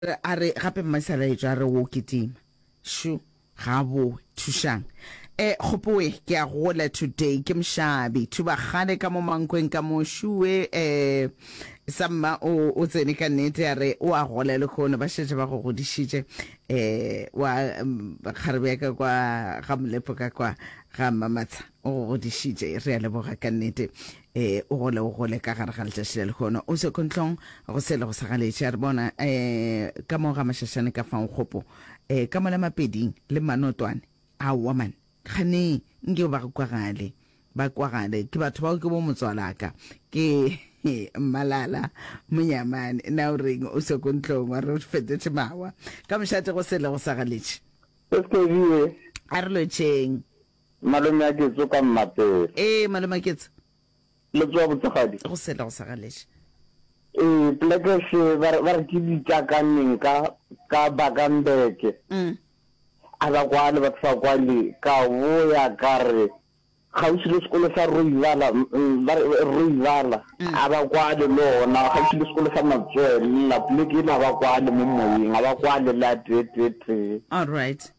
A re gape Mmasalaetšo a re wo kitima. Shu, ga a bowe. Thušang. E, Kgopowe, ke a gola today. Ke mošabi. Thubagale ka mo Mankweng ka mo. Shuwe, e, Samma o, o tsene ka nnete a re o a gola lehono. Ba šetše ba go godišitše. E, wa, kgarebe ya ka kwa ga Molepo ka kwa ga Mmamatsha o go godišitše. Re a leboga ka nnete. E, o gole o gole ka gare ga letšatši la lehono. O se kontlong go sele go sa galetše. A re bona e, ka mo ga Mašašane ka fao kgopo e, ka mola Mapeding le Manotwane. Aowa man, kganeng nke ba kwagale, ba kwagale. Ke batho bao ke bo motswalaka. Ke Mmalala Monyamane. Na o reng o se kontlong wa re o fetotše mawa. Ka mošate go sele go sa galetše. SKV. A re lotšheng. Malome a Ketso ka Mmapele. Ee, malome a Ketso. Le tsoa botsegadi? Go sele go sa galetše. Ee, poleke se ba re ba re ke ditšakaneng ka ka Bakambeke. Mm. A ba kwale batho ba kwale ka boya ka re kgauswi le sekolo sa Roibala ba re Roibala a ba kwale le ona kgauswi le sekolo sa Matswella poleke ela a ba kwale mo moyeng a ba kwale le a tee tee tee. All right.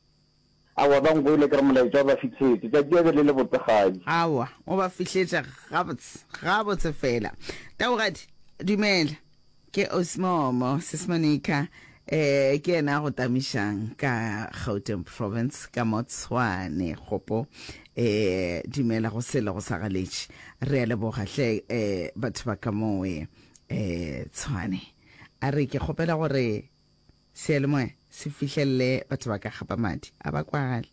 Aowa, ba nkwele ke re molaetša o ba fihletše. Tšatši ya be le le botsegadi. Aowa, o ba fihletše gabotse, gabotse fela. Taugadi, dumela. Ke Osmomo, Sis Monica, eh, ke yena a go tamišang ka Gauteng Province, ka mo Tshwane, kgopo. Eh, dumela go sele go sa galetše. Re a leboga hle, eh, batho ba ka mowe, eh, Tshwane. A re ke kgopela gore Seyalemoya se fihlelele batho ba ka gapa madi, a ba kwagale.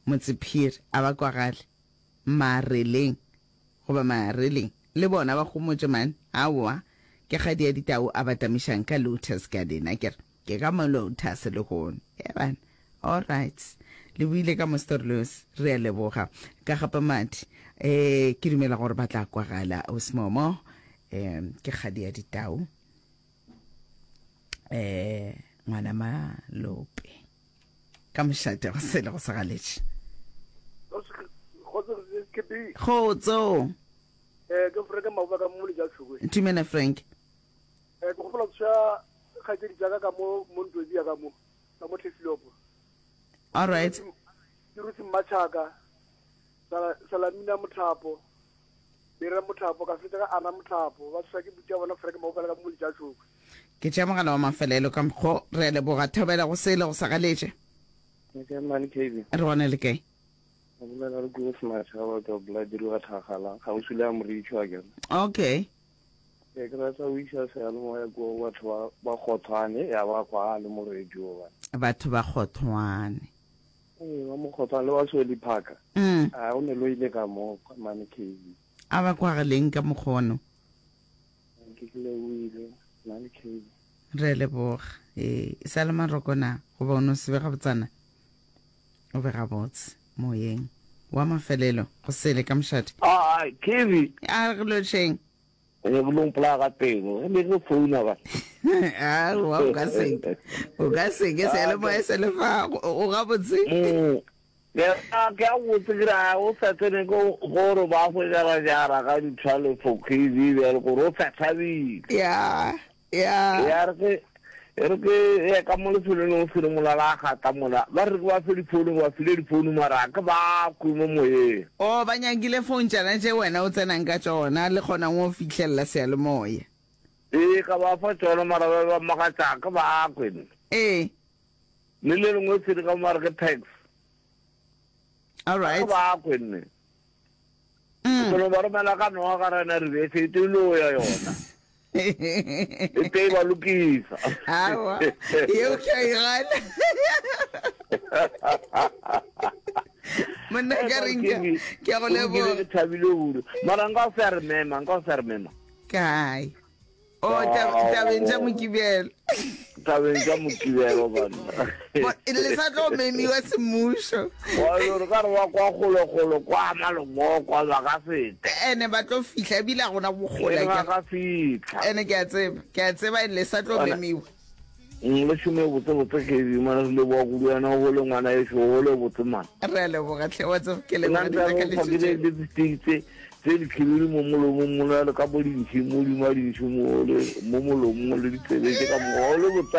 Motsephiri, a ba kwagale. Mareleng, goba Mareleng, le bona ba homotše man. Aowa, ke kgadi ya ditau a ba tamišang ka Lotus Garden, akere? Ke ka mo Lotus lehono. E bana, all right. Le buile ka mo Storloos, re a leboga. Ka gapa madi, eh, ke dumela gore ba tla kwagala. Osmomo, eh, ke kgadi ya ditau. eh ngwana malope ka mošate go sele go segaletše kgotso eh ke Frank Mabuba ka mo Lejatlhokwe tumela Frank eh ke gopola tsa kgaitsedi tsaka ka mo mo ntwedi ya ka mo ka mo Tlhefilopo all right ke rutse Mmatšhaka Salamina Mothapo Dira mothapo, ka fetša ka ana mothapo. Ba tshwa ke butša bona Frank Maubala ka mo Letšatšhokwe. Ke tšea mogala wa mafelelo ka mokgo. Re a leboga. Thobela go sele go sa galetše. Le kae mane KB? Re gona le kae? Re bolela le Koos Mashaba ka Blood wa Thakgala, kgauswi le ya Moritšho a kere. Okay. Ee, ke rata go iša seyalemoya kua go batho ba ba Kgothwane ya ba kwa le mo radio bana. Batho ba Kgothwane. Ee, ba Mokgothwane le ba Sweli Parker. Mm. A o ne lo ile ka mo mane KB. A ba kwagaleng ka mokgono. Ke ke lebohile mane KB. Re a leboga. Ee, e sa le maroko na goba o no se be gabotsana? O be gabotse moyeng. Wa mafelelo go sele ka mošate. Ah, KB. A re lotšheng. Re lo mpolaya ka pelo ge ne ke founa ba. Aowa o ka seke o ka seke seyalemoya se le fa o gabotse. Mm. Ke ke a botse ke ra o sa tsene ko gore ba go jara jara ga di 12 for KV bjale gore o sa thabile. Ya ya. Ya re ke e re ke ya ka mo lefelong o sele mola la gata mola ba re ke ba fe difounu ba file difounu mara ke ba kwe mo moyeng. O ba nyakile phone tšana tše wena o tsenang ka tšona le kgonang go fihlelela seyalemoya. Ee ka ba fa tšona mara ba ba makatša ke ba kwe nna. Ee. Le le lengwe sele ka mo ba re ke tax. All right. Ke ba kwe nne. Mm. Ke no ba romela ka noga ka rena re be se e lo ya yona. E tee ba lokisa. Awa, yeo ke a e gana. Monna ka reng ke ke a go leboga. Ke thabile kudu. Mara nka o sa re mema, nka o sa re mema. Kae? O oh, tabeng tša Mokibelo. Tabeng tša Mokibelo banna. Le sa tlo memiwa semmušo. Wa re ka re wa kwa kgolokgolo kwa malomo kwa ba ka feta. Ene ba tlo fihla ebile a gona bogola. Ba ka fihla. Ene ke a tseba, ke a tseba le sa tlo memiwa. Mm, le šome botse botse ke mana le leboga kudu wena o gole ngwana ešo o gole botse mana. Re a leboga tlhe wa tseba ke leboga ditaka le tse. Tse dikhibidu mo molomong mola le ka mo dintšhi mo dima dintšhi mo le mo molomong le ditsebe tše ka mokgwa o le botsana.